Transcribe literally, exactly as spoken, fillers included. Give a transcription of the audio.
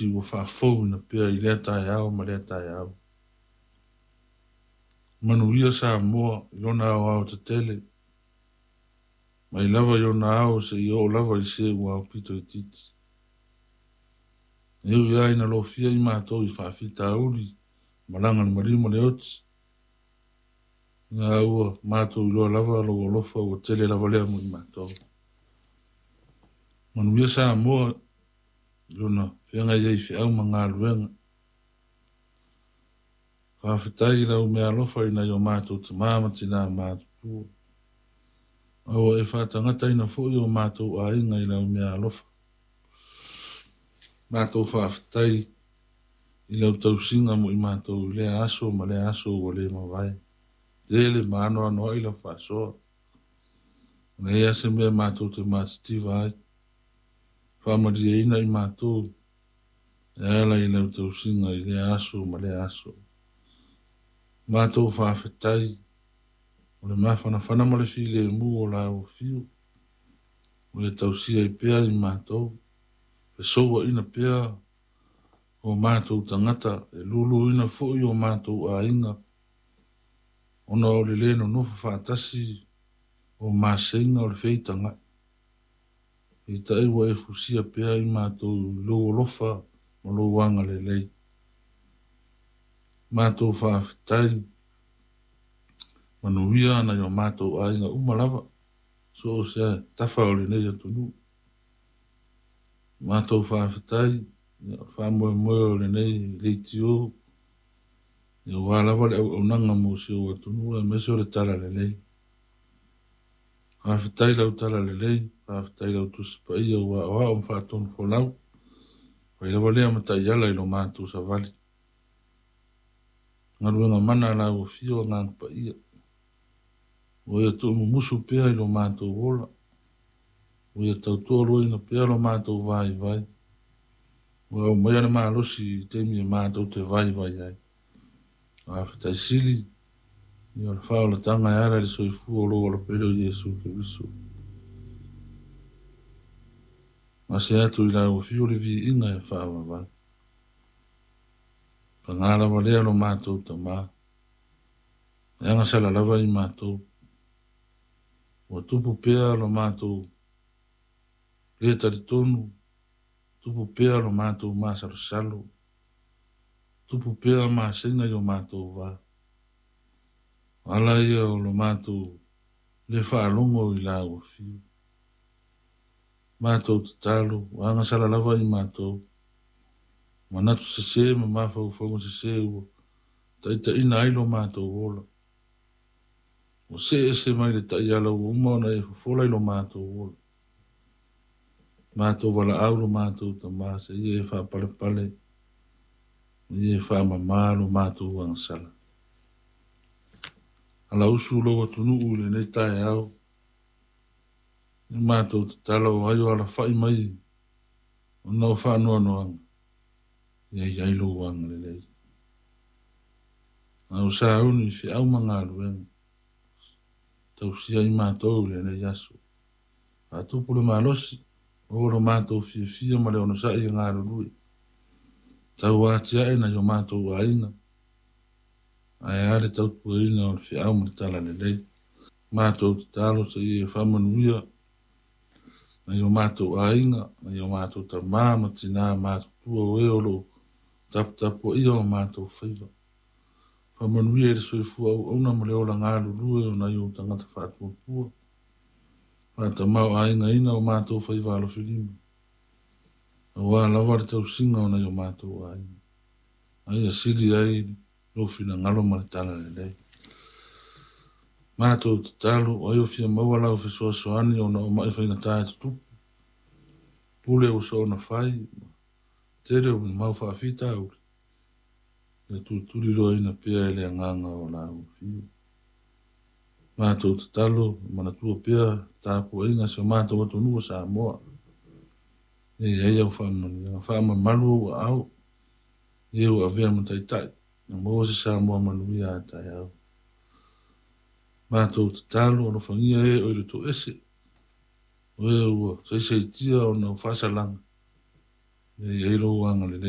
Ua faafouina pea i lea taeao ma lea taeao. Manuia Samoa i lona aoao tetele, mai lava i ona ao seia oo lava i se ua aupito itiiti. E ui lava ina lofia i matou i faafitauli, malaga le maliu ma le oti, a ua matou iloa lava lou alofa ua tele lava lea mo i matou. Manuia Samoa i lona feagai ai i feau ma galuega. Faafetai i lau meaalofa i nai o matou tama ma tina matutua. A ua e faatagataina foi o matou aiga i lau meaalofa. Matou faafetai i lau tausiga mo i matou i lea aso ma lea aso ua le mavae. Tele ma anoanoai lau faasoa. Leai lava se mea matou te matitiva ai. Faamalieina i matou e ala i lau tausiga i lea aso ma lea aso. Matou faafetai o le mafanafana ma le filemu o lau afio. Ua e tausia ai pea i matou, fesouaina pea o matou tagata, e luluina foi o matou aiga, ona o le le nonofo faatasi o maseiga o le feitagai. Peitai ua e fusia pea i matou i lou alofa ma lou agalelei. Matou faafetai, manuia nai o matou aiga uma lava, so o se tafa o lenei atunuu. Matou faafetai, faamoemoe o lenei leitio, aua lava le auaunaga mo si ou atunuu aemaise o le talalelei. Faafetai lau talalelei, faafetai lau Tusi Paia ua aoao ma faatonufolau. Fai lava lea ma taiala i lo matou savali. Galuega mana lau afio Agaga Paia. Ua ia tuumumusu pea i lo matou ola. Ua ia tautoaluaina pea lo matou vaivai. Ua aumaia le malosi i taimi e matou te vaivai ai. Faafetai sili ia o le faaolataga e ala i le soifua o lou alopele o Iesu Keriso. Gase atu i lau afio le viiga e faavavau. Paga lava lea lo matou tama. E agasala lava i matou. Ua tupu pea lo matou le talitonu, tupu pea lo matou masalosalo, tupu pea maseiga i o matou va. O ala ia o lo matou le faalogo i lau afio. Matou tatalo, ua agasala lava i matou. Manatu sese ma mafaufauga sese ua taitaiina ai lo matou ola. Ua see ese mai le taiala ua uma ona e fofola i lo matou ola. Matou valaau lo matou tama seia e faapalepale, ia e faamama lo matou agasala. Alausu lou atunuu i lenei taeao. I matou tatalo o ai o alafai mai ona o faanoanoaga, ia i ai lou agalelei. A o sauni i feau ma galuega, tausia i matou i lenei aso. Faatupu le malosi, maua lo matou fiafia ma le onosai e galulue. Tau atiae nai o matou aiga, ae a le tautuaina o le feau ma le talalelei. Matou tatalo seia e faamanuia nai o matou aiga, nai o matou tama ma tina matutua o e o loo taputapuaia o matou faiva. Faamanuia i le soifua auauna ma le ola galulue o nai ou tagata faatuatua. Faatamaoaigaina o matou faiva alofilima, aua lava le tausiga o nai o matou aiga. Aia sili ai lou finagalo ma le talalelei. Matou tatalo, o ai o fia maua lau fesoasoani ona o mai faigata e tutupu. Pule ua soona fai, tele o mau faafitauli, ia tulituliloaina pea e le agaga o lau afio. Matou tatalo, manatua pea tapuaiga si o matou atunuu o Samoa. Ia i ai au faamanuiaga, faamamalu ou aao, e ua avea ma taitai, na maua se Samoa manuia a taeao. Matou tatalo, alofagia e o i le toese, o e ua saisaitia ona o faasalaga, ia i ai lou agalelei.